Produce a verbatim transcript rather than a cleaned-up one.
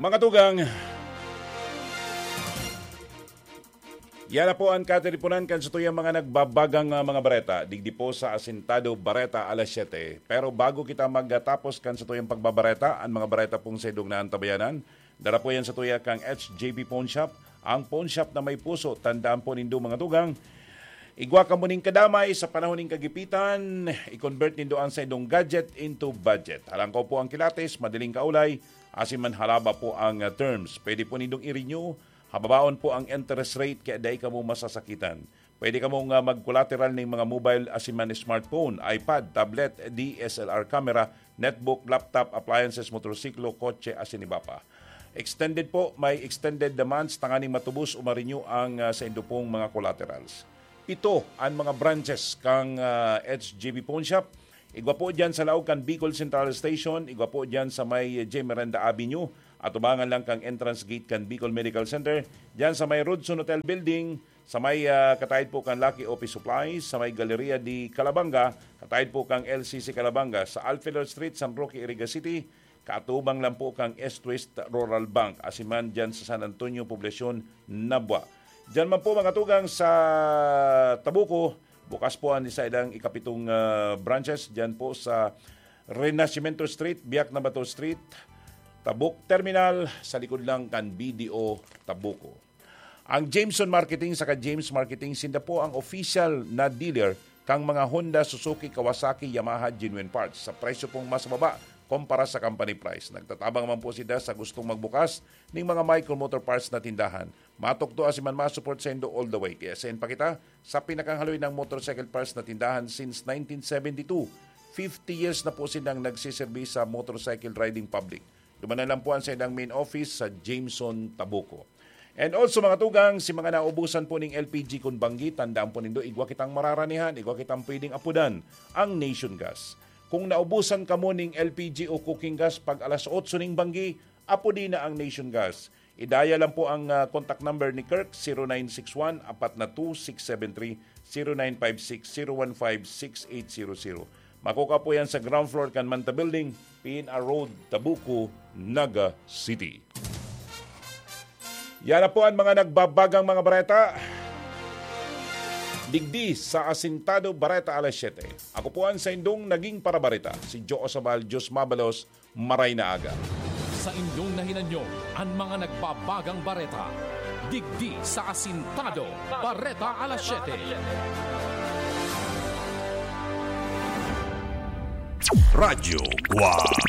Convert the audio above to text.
Mga tugang, yan na po ang katiripunan kan satuyang mga nagbabagang, ah, mga bareta. Digdi po sa Asintado Bareta alas siyete. Pero bago kita magtapos kan satuyang pagbabareta, ang mga bareta pong sa idong naantabayanan, dara po yan satuya kang H J B Pawn Shop, ang pawn shop na may puso. Tandaan po nindo, mga tugang, igwa kamo ning kadamay sa panahon ning kagipitan, i-convert nindo ang sa idong gadget into budget. Halangkaw po ang kilates, madaling kaulay, asin man halaba po ang, ah, terms. Pwede po nindong i-renew, hababaon po ang interest rate kaya dai kamo masasakitan. Pwede kamo nga mag-collateral ning mga mobile asin man smartphone, iPad, tablet, D S L R camera, netbook, laptop, appliances, motorsiklo, kotse, asin iba pa. Extended po, may extended the months tanganing matubos o ma-renew ang, ah, sa indo pong mga collaterals. Pito an mga branches kang, ah, H J B Pawn Shop. Igwa po dyan sa laog kan Bicol Central Station, igwa po dyan sa may J. Miranda Avenue, atubangan lang kang entrance gate kan Bicol Medical Center, dyan sa may Rodson Hotel Building, sa may, ah, kataid po kan Lucky Office Supplies, sa may Galeria de Calabanga, kataid po kang L C C Calabanga, sa Alfelor Street, San Roque, Iriga City, kaatubang lang po kang East West Rural Bank, asin man dyan sa San Antonio, Poblacion, Nabua. Dyan man po, mga tugang, sa Tabuco, bukas po ang isa ilang ikapitong, ah, branches dyan po sa Renacimiento Street, Biak na Bato Street, Tabuk Terminal, sa likod lang kan B D O Tabuco. Ang Jameson Marketing saka James Marketing, sinda po ang official na dealer kang mga Honda, Suzuki, Kawasaki, Yamaha, genuine parts. Sa presyo pong mas baba kumpara sa company price. Nagtatabang man po sila sa gustong magbukas ning mga Micro Motor Parts na tindahan. Matukdo asin man ma-support saindo all the way. Kaya send pa kita sa pinakang haloy ng motorcycle parts na tindahan since nineteen seventy-two. Fifty years na po silang nagsiserbi sa motorcycle riding public. Dumanan lang po ang saindang main office sa Jameson, Tabuco. And also, mga tugang, si mga naubusan po ning L P G kun banggi, tandaan po nindo, igwa kitang mararanihan, igwa kitang pwedeng apodan, ang Nation Gas. Kung naubusan kamo ning L P G o cooking gas pag alas otso ning banggi, apodi na ang Nation Gas. Idaya lang po ang, ah, contact number ni Kirk, zero nine six one, apat na two, six seven three, zero nine five six, zero one five, six eight zero zero. Makukuha po yan sa ground floor kan Manta Building, P N R Road, Tabuco, Naga City. Yan na po ang mga nagbabagang mga bareta. Digdi sa Asintado Bareta alas siyete. Ako po ang saindong naging parabareta, si Joe Osabal, Diyos mabalos, maray na aga. Sa inyong nahinanyo, ang mga nagbabagang bareta. Digdi sa Asintado Bareta alas siyete. Radyo Guwang.